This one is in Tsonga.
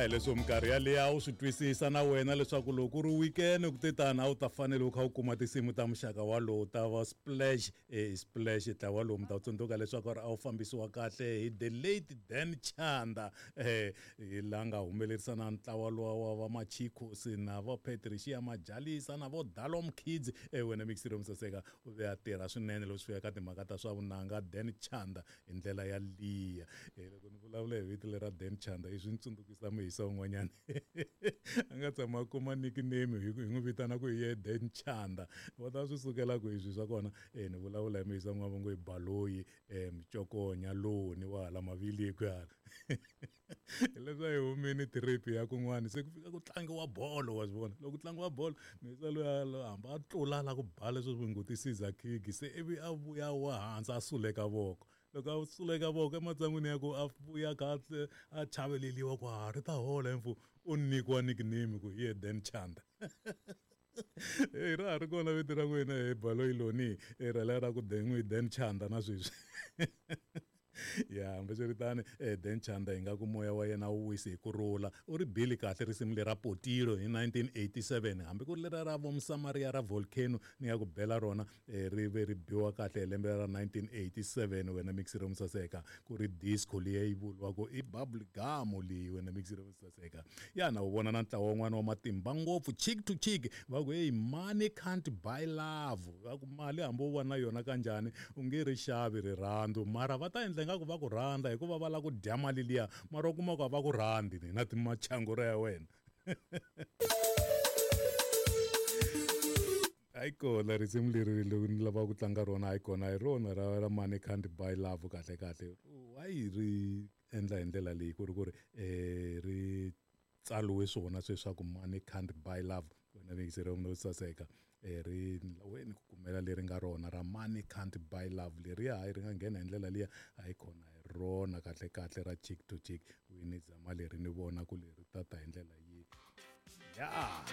Ya hi leswo minkarhi yaleyo a wu swi twisisa na wena leswaku loko ku ri weekend ku te tani a wu ta fanele u kha u kuma tinsimu ta muxaka walowu ta va Splash. Splash ntlawa lowu mi ta tsundzuka leswaku a wu fambisiwa kahle hi the late Dan Chanda, hi la nga humelerisa na ntlawa luwa wa va Machicos na vo Patricia Majalisa na vo Dalom Kids. Wena mixiro Musaseka u ve a tirha swinene loko swi fika ka timhaka ta swa vunanga Dan Chanda hi ndlela ya liya. Loko ni vulavula hi vito lera Dan Chanda i swi ni tsundzukisa muyisa un'wanyana a nga tshama a kuma nickname hi n'wi vitana ku hi ye Dan Chanda. Va ta swi sukela ku swi swa kona. Ni vulavula hi muyisa un'wana va ngo i Baloyi, Mcokonya Loni wa hala Maviliku hala. Hileswi a hi humini trip ya kun'wana se ku fika ku tlangiwa bolo, wa swi vona loko ku tlangiwa bolo muyisa luya hambi a tlula la ku ba leswi swi ngo ti-scissor kick, se ivi a vuya wa hansi a suleka voko. Loko a suleka voko ematshan'wini ya ku a vuya kahle a chaveleliwa ku ha ri ta hola mfo, u nyikiwa nickname ku hi ye Dan Chanda. Hey, ra ha ri kona vito ra n'wina hi Baloyi Loni, ra lera ra ku n'wi Dan Chanda na sweswi. Ya hambiswiritano, Dan Chanda hi nga ku moya wa yena wu wisi hi ku rhula. U ri bile kahle risimu lera Potilo hi 1987, hambi ku ri lera ra Vomusamariya ra Volcano ni nga ku bela rona, ri ve ri biwa kahle hi lembe ra 1987. Wena mixiro Musaseka, ku ri disco liya yi vuriwaka i bubble gum leyi, wena mixiro Musaseka. Ya na u vona na ntlawa wun'wana wa matimba ngopfu, Cheek to Cheek, va ku hey, money can't buy love. Va ku mali hambi u va na yona kanjhani u nge ri xavi rirhandzu, mara va ta endla ingaku va ku rhandza hikuva va lava ku dya mali liya, mara u kuma ku a va ku rhandzi ni na timachangura ya wena. Hayi kona risimu leri loko ni lava ku tlanga rona, hayi kona hi rona ra money can't buy love. Kahle kahle why ri endla hi ndlela leyi ku ri ku ri ri tsaliwe swona sweswaku money can't buy love? Wena vekiseri no saseka, ri weni ku kumela leri nga rona ra money can't buy love leriya, hayi ri nga nghena hi ndlela liya, hayi kona hi rona kahle kahle ra Cheek to Cheek. Wini zama leri ni vona ku leri tata hi ndlela yi ya.